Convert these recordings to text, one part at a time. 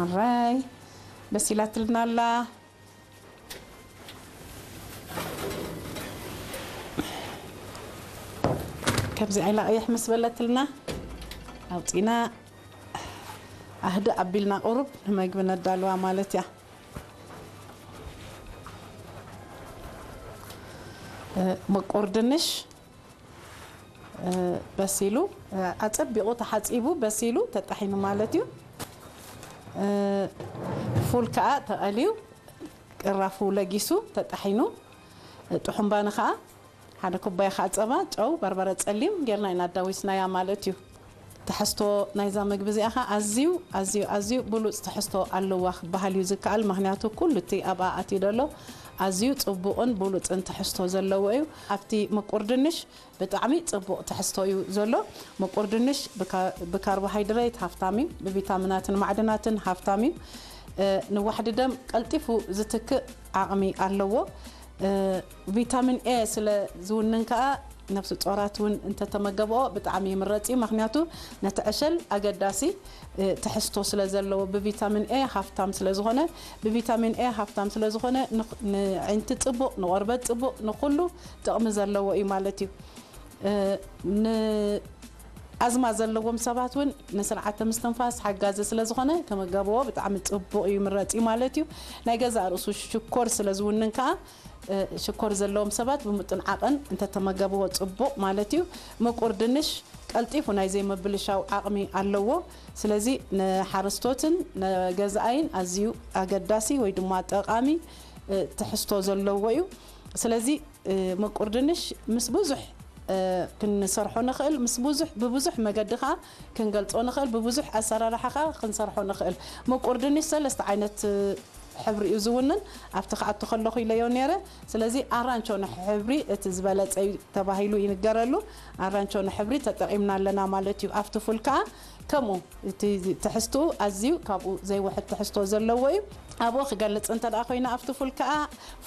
ኣራይ በሲላትልና ኣላ። ከምዚ ዓይላ ቀይሕ ምስ በለትልና ኣውፂና ኣህድእ ኣቢልና ቁሩብ ንመግቢ ነዳልዋ ማለት እያ። እ፣ ምቁር ድንሽ እ፣ በሲሉ፣ እ፣ ኣጸቢቑ ተሓጺቡ በሲሉ ተጣሒኑ ማለት እዩ። እ፣ ፉል ከኣ ተቐልዩ ቅራፉ ለጊሱ ተጣሒኑ፣ እ፣ ጥሑምባኒ ከኣ ሓደ ኩባያ ከኣ ጸባ፣ ጨው፣ በርበረ ጸሊም ጌርና ኢና ኣዳዊስናያ ማለት እዩ። ትሕዝቶ ናይዛ መግቢ እዚኣ ኸኣ ኣዝዩ፣ ኣዝዩ፣ ኣዝዩ ብሉጽ ትሕዝቶ ኣለዋ ክበሃል እዩ ዝከኣል። ምኽንያቱ ኩሉ እቲ ኣብኣ ኣትዩ ዘሎ ኣዝዩ ጽቡቕን ብሉጽን ትሕዝቶ ዘለዎ እዩ። ኣብቲ ምቁር ድንሽ ብጣዕሚ ጽቡቕ ትሕዝቶ እዩ ዘሎ። ምቁር ድንሽ ብካ-፣ ብካርቦሃይድሬት ሃፍታም እዩ፣ ብቪታሚናትን ማዕድናትን ሃፍታም እዩ። እ፣ ንዋሕዲ ደም ቀልጢፉ ዝትክእ ዓቕሚ ኣለዎ። እ፣ ቪታሚን ኤ ስለ ዝውንን ከኣ ነፍሲ ጾራት እውን እንተተመገብኦ ብጣዕሚ ይምረጽ እዩ። ምኽንያቱ ነቲ ዕሸል ኣገዳሲ፣ እ፣ ትሕዝቶ ስለ ዘለዎ ብቪታሚን ኤ ሃፍታም ስለ ዝኾነ፣ ብቪታሚን ኤ ሃፍታም ስለ ዝኾነ ንኽ-፣ ንዒንቲ ጽቡቕ፣ ንቆርበት ጽቡቕ፣ ንኹሉ ጥቕሚ ዘለዎ እዩ ማለት እዩ። እ፣ ንኣዝማ ዘለዎም ሰባት እውን ንስርዓተ ምስትንፋስ ሓጋዚ ስለ ዝኾነ ክምገብዎ ብጣዕሚ ጽቡቕ እዩ፣ ይምረጽ እዩ ማለት እዩ። ናይ ገዛእ ርእሱ ሽኮር ስለ ዝውንን ከኣ፣ እ፣ ሽኮር ዘለዎም ሰባት ብምጥን ዓቐን እንተተመገብዎ ጽቡቕ ማለት እዩ። ምቁር ድንሽ ቀልጢፉ ናይ ዘይምብልሻው ዓቕሚ ኣለዎ። ስለዚ ንሓረስቶትን ንገዛኣይን ኣዝዩ ኣገዳሲ ወይ ድማ ጠቓሚ፣ እ፣ ትሕዝቶ ዘለዎ እዩ። ስለዚ፣ እ፣ ምቁር ድንሽ ምስ ብዙሕ፣ እ፣ ክንሰርሖ ንኽእል፣ ምስ ብዙሕ፣ ብብዙሕ መገዲ ኸኣ ክንገልጾ ንኽእል፣ ብብዙሕ ኣሰራርሓ ኸኣ ክንሰርሖ ንኽእል። ምቁር ድንሽ ሰለስተ ዓይነት፣ እ፣ ሕብሪ እዩ ዝውንን። ኣብቲ ክኣቱ ከለኹ ኢለዮ ነይረ። ስለዚ ኣራንቾ ንሕብሪ እቲ ዝበለጸ እዩ ተባሂሉ ይንገረሉ። ኣራንቾ ንሕብሪ ተጠቒምና ኣለና ማለት እዩ። ኣብቲ ፉል ከኣ ከምኡ እቲ ትሕዝትኡ ኣዝዩ ካብኡ ዘይውሕድ ትሕዝቶ ዘለዎ እዩ። ኣብኡ ክገልጽ እንተ ደኣ ኮይና ኣብቲ ፉል ከኣ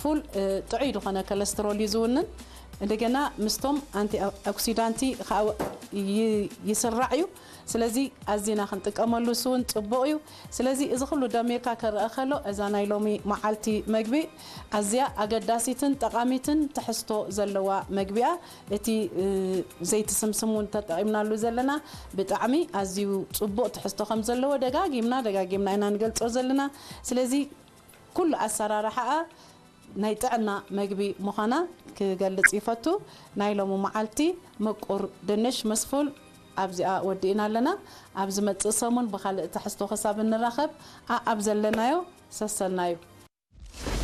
ፉል፣ እ፣ ጥዑይ ዝኾነ ኮለስትሮል እዩ ዝውንን። እንደገና ምስቶም ኣንቲ ኦክሲዳንቲ ከኣ ይ-፣ ይስራዕ እዩ። ስለዚ ኣዚና ክንጥቀመሉ እሱ እውን ጽቡቕ እዩ። ስለዚ እዚ ኩሉ ደሚርካ ክረአ ከሎ እዛ ናይ ሎሚ መዓልቲ መግቢ ኣዝያ ኣገዳሲትን ጠቓሚትን ትሕዝቶ ዘለዋ መግቢ እያ። እቲ፣ እ፣ ዘይቲ ስምስም እውን ተጠቒምናሉ ዘለና ብጣዕሚ ኣዝዩ ጽቡቕ ትሕዝቶ ከም ዘለዎ ደጋጊምና ደጋጊምና ኢና ንገልጾ ዘለና። ስለዚ ኩሉ ኣሰራርሓኣ ናይ ጥዕና መግቢ ምዃና ክገልጽ ይፈቱ። ናይ ሎሚ መዓልቲ ምቁር ድንሽ ምስ ፉል ኣብዚኣ ወዲእና ኣለና። ኣብ ዝመጽእ ሰሙን ብኻልእ ትሕዝቶ ክሳብ እንራኸብ፣ ኣኣብ ዘለናዮ ሰሰልናዩ።